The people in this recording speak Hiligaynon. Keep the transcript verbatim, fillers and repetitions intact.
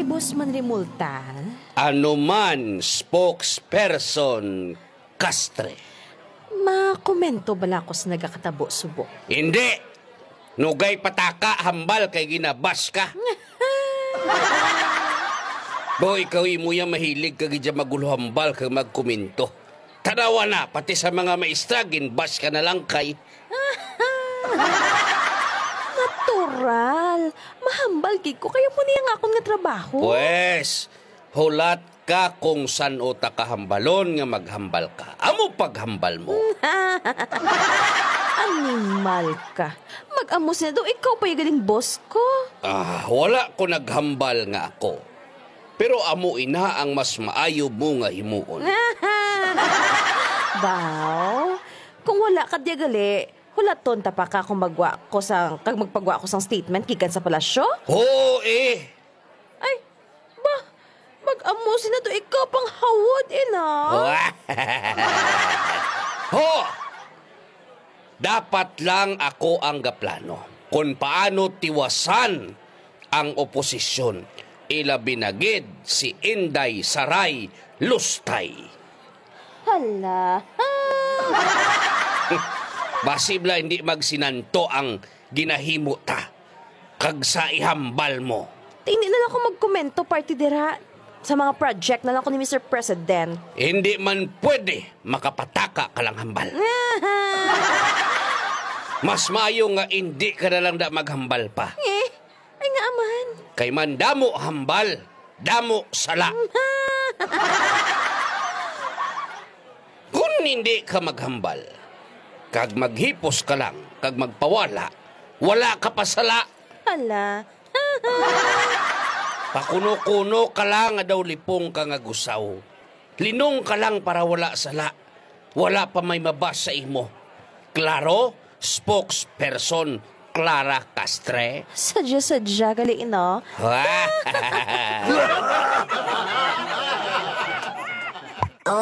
Boss man Rimulta. Ano man, spokesperson Castre. Makomento bala ako sa nagakatabo subong? Hindi! Nugay pataka, hambal kay ginabash ka. Bo, ikaw imo ya mahilig ka gid ya magulo hambal kag magkomento. Tanawa na, pati sa mga maestra, ginbash ka na lang kay. Natural. Mahambal gid ko, kaya mo niya nga akon nga trabaho. Pwes, hulat ka kung san-o ta kahambalon nga maghambal ka. Amo paghambal mo. Animal ka. Mag-amo sina daw, ikaw pa yung galing boss ko. Ah, wala ko naghambal nga ako. Pero amo ina ang mas maayo mo nga himuon. Baw, kung wala ka diya gali, hulaton ta pa ka kung magwa ko sang, kag magpagwa ko sang statement gikan sa palasyo? Oo, eh. Ay, ba, mag-amo sina to ikaw pang hawod, ina. Ho! Dapat lang ako ang gaplano kung paano tiwasan ang oposisyon, ilabi na gid si Inday Saray Lustay. Hala. Basi bala hindi magsinanto ang ginahimo ta, kag sa ihambal mo. Hindi na lang ako magkomento, party dira. Sa mga project na lang ko ni Mister President. Hindi man pwede makapataka ka lang hambal. Mas maayo nga hindi ka na lang da maghambal pa. Eh, ay nga aman. Kay man damo hambal, damo sala. Kung hindi ka maghambal, kag maghipos ka lang, kag magpawala, wala ka pa sala. Hala. Pakuno-kuno ka lang nga daw lipong ka nga gusaw. Linong ka lang para wala sala. Wala pa may mabas sa imo. Klaro, spokesperson Clara Castre. Sadya-sadya gali, no?